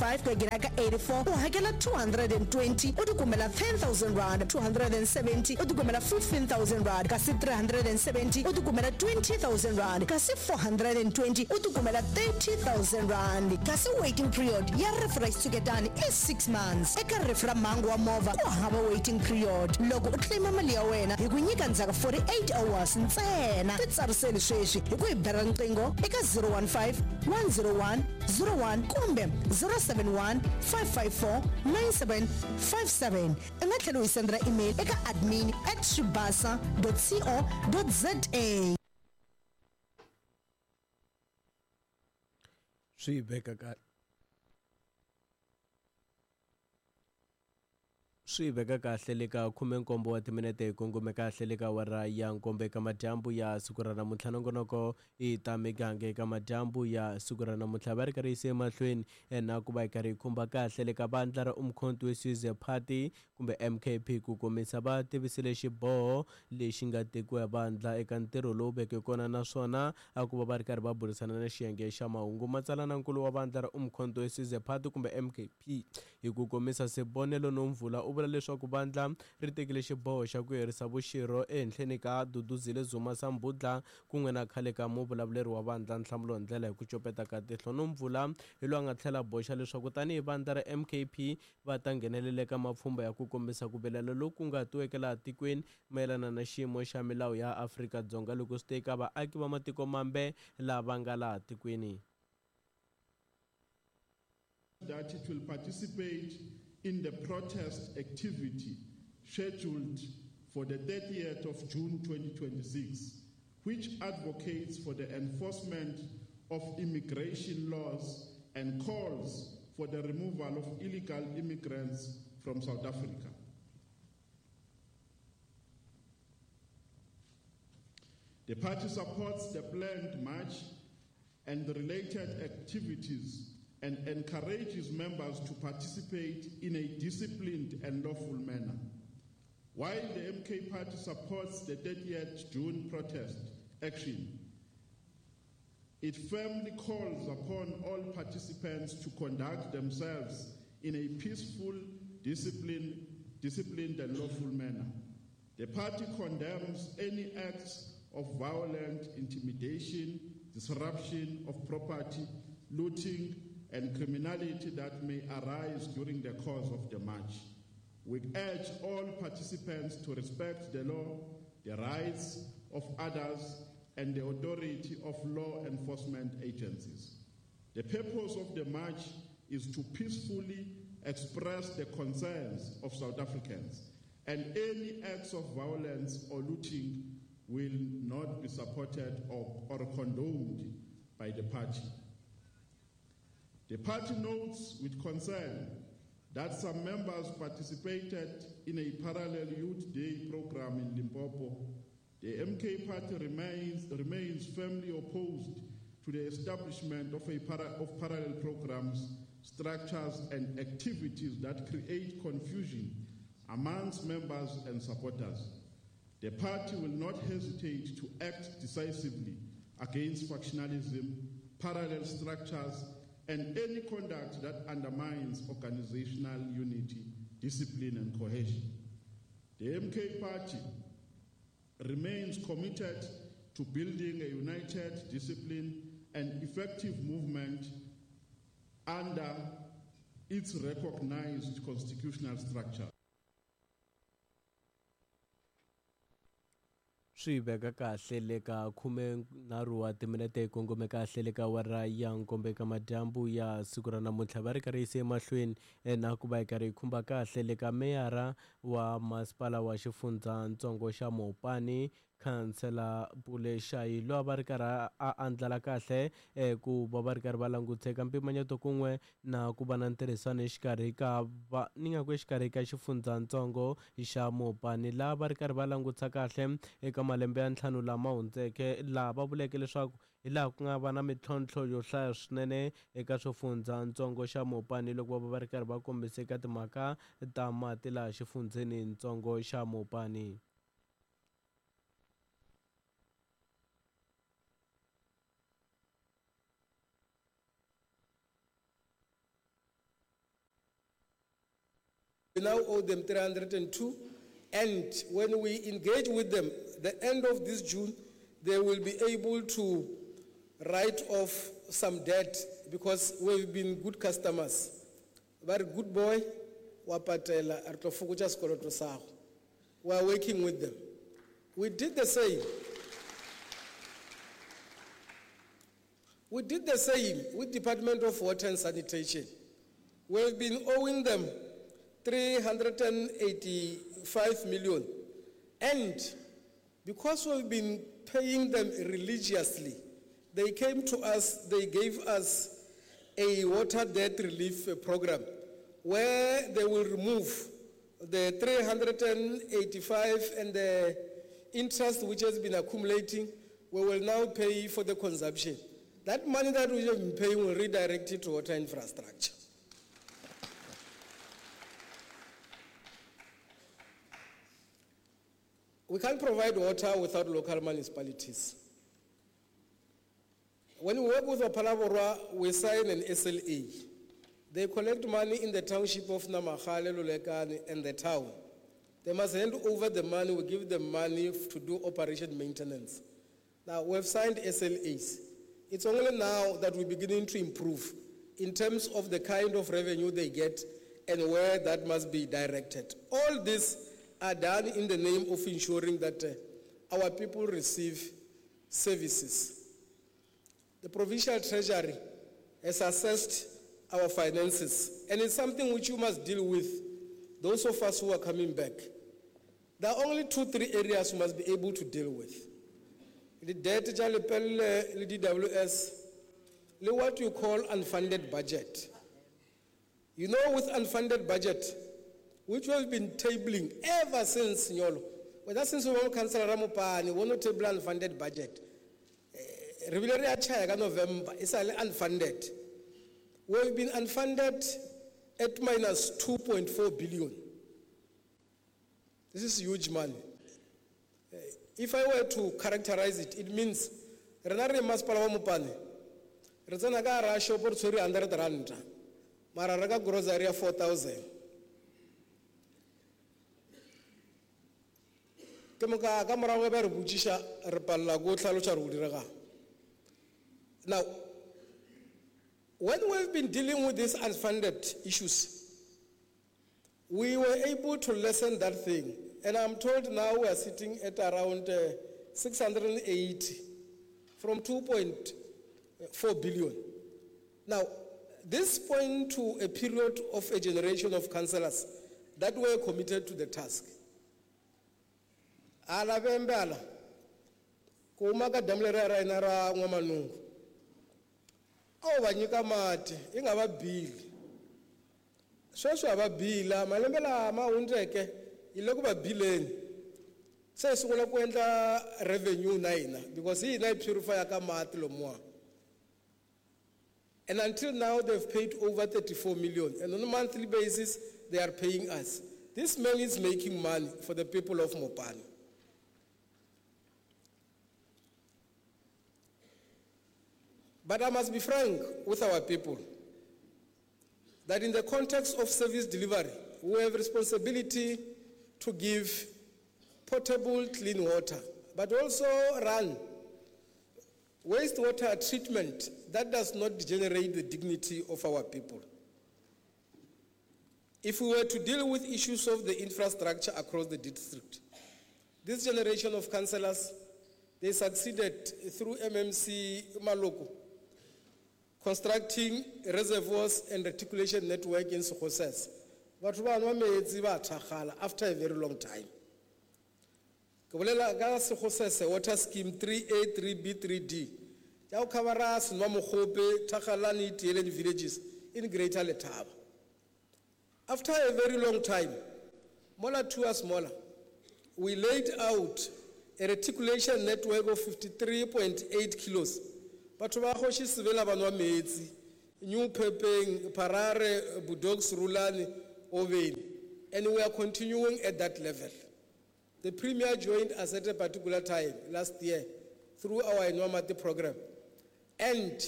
5 ku ya nghena ka 84 u hakela 220 u tikumela 10000 rand, 270 u tikumela 15000 rand, kasi 370 u tikumela 20000 rand, kasi 420 u tikumela 30000 rand. Kasi waiting period ya rifu ra xitshuketani i 6 months. Eka rifu ra mhangu wa movha ku hava waiting period. Loko u claim mali ya wena hi ku nyika ndzhaku 48 hours ntsena. Titsariseli sweswi hi ku hi bela riqingho eka 015 101 01 kumbe 071 554 9757. U nga tlhela u hi sendela email eka admin at swibasa co za. Swi veka ka Swi veka kahle le ka khumenkombo wa timinete hi kongome kahle le ka awara ya nkombo eka madyambu ya siku ra namuntlha. Nongonoko i ta miganga eka madyambu ya siku ra namuntlha va ri karhi yise emahlweni na ku va hi karhi hi khumba kahle le ka vandla ra Umkhonto we Sizwe Party kumbe MKP ku komisa va tivisile xiboho lexi nga tekiwa hi vandla eka ntirho lowu veke kona naswona a ku va va ri karhi va burisana na xiyenge xa mahungu. Matsalanankulu wa vandla ra Umkhonto we Sizwe Party kumbe MKP Hi ku komisa, Sibonelo Nomvula u vula leswaku vandla ri tekile xiboho xa ku herisa vuxirho ehenhleni ka Duduzile Zuma Sambudla kun'we na khale ka muvulavuleri wa vandla Nhlamulo Ndlela hi ku copeta ka tihlo. Nomvula hi loyi a nga tlhela a boxa leswaku tanihi vandla ra MKP va ta nghenelela eka mapfhumba ya ku kombisa ku vilela loku nga tiweke laha tikweni mayelana na xiyimo xa milawu ya Afrika-Dzonga loko swi te eka vaaki va matiko mambe lava nga laha tikweni. That it will participate in the protest activity scheduled for the 30th of June 2026, which advocates for the enforcement of immigration laws and calls for the removal of illegal immigrants from South Africa. The party supports the planned march and the related activities and encourages members to participate in a disciplined and lawful manner. While the MK Party supports the 30th June protest action, it firmly calls upon all participants to conduct themselves in a peaceful, disciplined and lawful manner. The party condemns any acts of violent intimidation, disruption of property, looting, and criminality that may arise during the course of the march. We urge all participants to respect the law, the rights of others, and the authority of law enforcement agencies. The purpose of the march is to peacefully express the concerns of South Africans, and any acts of violence or looting will not be supported or condoned by the party. The party notes with concern that some members participated in a parallel Youth Day program in Limpopo. The MK Party remains firmly opposed to the establishment of parallel programs, structures, and activities that create confusion amongst members and supporters. The party will not hesitate to act decisively against factionalism, parallel structures, and any conduct that undermines organizational unity, discipline, and cohesion. The MK Party remains committed to building a united, disciplined, and effective movement under its recognized constitutional structure. Swi veka kahle le ka khumenharhu wa timinete yi kongome kahle le ka awara ya nkombo eka madyambu ya siku ra namuntlha va ri karhi yise emahlweni na ku va yi karhi yi khumba kahle le ka meyara wa masipala wa xifundzatsongo xa Mopani Khansela Pule Shayi loyi a va ri karhi a andlala kahle ku va va ri karhi va languteka mpimanyeto kun'we na ku va na ntirhisano exikarhi ka va ni nga ku exikarhi ka xifundzatsongo xa Mopani laha va ri karhi va langutisa kahle eka malembe ya ntlhanu lama hundzeke laha va vuleke leswaku hi laha ku nga va na mintlhontlho yo hlaya swinene eka xifundzatsongo xa Mopani loko va va ri karhi va kombisa eka timhaka ta mati laha xifundzenitsongo xa Mopani. now owe them 302. And when we engage with them, the end of this June, they will be able to write off some debt because we've been good customers. Very good boy, wa patela, re tlo fokotša sekoloto sa gago. We are working with them. We did the same. We did the same with Department of Water and Sanitation. We've been owing them 385 million. And because we've been paying them religiously, they came to us, they gave us a water debt relief program where they will remove the 385 and the interest which has been accumulating, we will now pay for the consumption. That money that we have been paying will redirect it to water infrastructure. We can't provide water without local municipalities. When we work with Phalaborwa, we sign an SLA. They collect money in the township of Namakgale, Lulekane, and the town. They must hand over the money. We give them money to do operation maintenance. Now, we have signed SLAs. It's only now that we're beginning to improve in terms of the kind of revenue they get and where that must be directed. All this are done in the name of ensuring that our people receive services. The provincial treasury has assessed our finances, and it's something which you must deal with, those of us who are coming back. There are only 2-3 areas you must be able to deal with. The debt, le DWS, le what you call unfunded budget. You know, with unfunded budget, which we have been tabling ever since Nyolo. Whether since we were Councillor Ramopane, we not table unfunded budget. Re bile re a tjhaya ka November, e sa le unfunded. We have been unfunded at minus 2.4 billion. This is huge money. If I were to characterize it, it means rena re masepala wa Mopane, re tsena ka hara shop re tshwere 100 rand, mara re ka grocery ya 4,000. Ke moka ka morago ba re botšiša, re palela ko hlaloša re o diregang. Now, when we've been dealing with these unfunded issues, we were able to lessen that thing. And I'm told now we are sitting at around 680 from 2.4 billion. Now, this points to a period of a generation of councillors that were committed to the task. Ala bembe ala, ko uma ka damu leriya ra hina ra N'wamanungu, a wu va nyika mati, i nga va bili. Sweswi ha va bila, malembe lama hundzeke hi le ku va bileni. Se hi sungula ku endla revenue na hina because hi hina hi purify-aka mati lomuwa. And until now they've paid over 34 million, and on a monthly basis they are paying us. This man is making money for the people of Mopani. But I must be frank with our people that in the context of service delivery, we have responsibility to give potable clean water, but also run wastewater treatment that does not degenerate the dignity of our people. If we were to deal with issues of the infrastructure across the district, this generation of councillors, they succeeded through MMC Maloko, constructing reservoirs and reticulation network in Sekgosese. Batho ba nwa metsi ba thakgala after a very long time. Ke bolela ka Sekgosese water scheme 3A, 3B, 3D. Ya go covera Senwa Mogope, Thakgalane, Tieleng villages in Greater Letaba. After a very long time, mola 2 years mola, we laid out a reticulation network of 53.8 kilos. Batho ba kgoši Sebela ba nwa metsi, New Pepeng, Parare, Budoks, Rulani, Oveni, and we are continuing at that level. The Premier joined us at a particular time last year through our Inwamati program and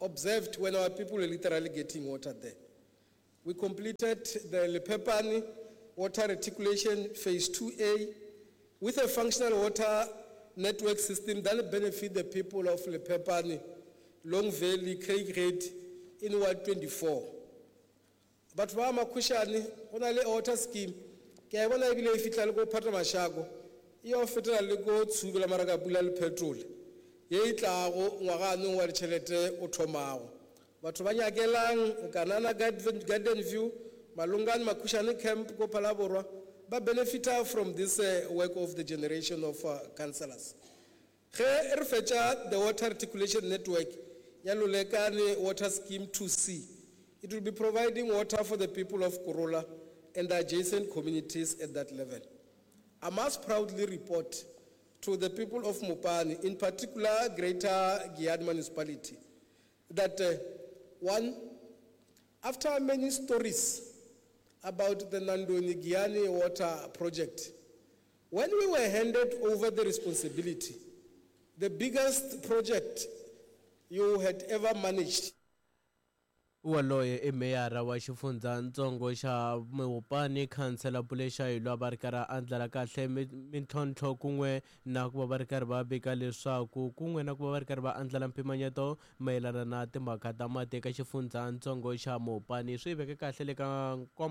observed when our people were literally getting water there. We completed the Lepepani Water Reticulation Phase 2A with a functional water network system that will benefit the people of Lepepani, Long Valley, Craighead in Ward 24. Batho ba Makhushane, go na le water scheme. Ke a e bona ebile e fihla le ko Phatamashako, e yo fetela le ko Tshube la Marakapula le Petrol. Ye e tlago ngwaga anong wa ditšhelete o thomago. Batho ba nyakelang Kanana Garden View, Malungane Makhushane Camp ko Phalaborwa, ba benefita from this work of the generation of councillors. Ge re fetša the water reticulation network ya Lolekane Water Scheme 2C, it will be providing water for the people of Korola and the adjacent communities at that level. I must proudly report to the people of Mopani, in particular Greater Giyani Municipality, that one, after many stories about the Nandoni Giyani water project, when we were handed over the responsibility, the biggest project you had ever managed, Waloye i meyara wa xifundzatsongo xa Mopani khansela Pule Shayi va ri karhi a andlala kahle mintlhontlho kun'we na ku va va ri karhi va vika leswaku kun'we na ku va va ri karhi va andlala mpimanyeto mayelana na timhaka ta mati eka xifundzatsongo xa Mopani swi veke kahle le ka nkombo.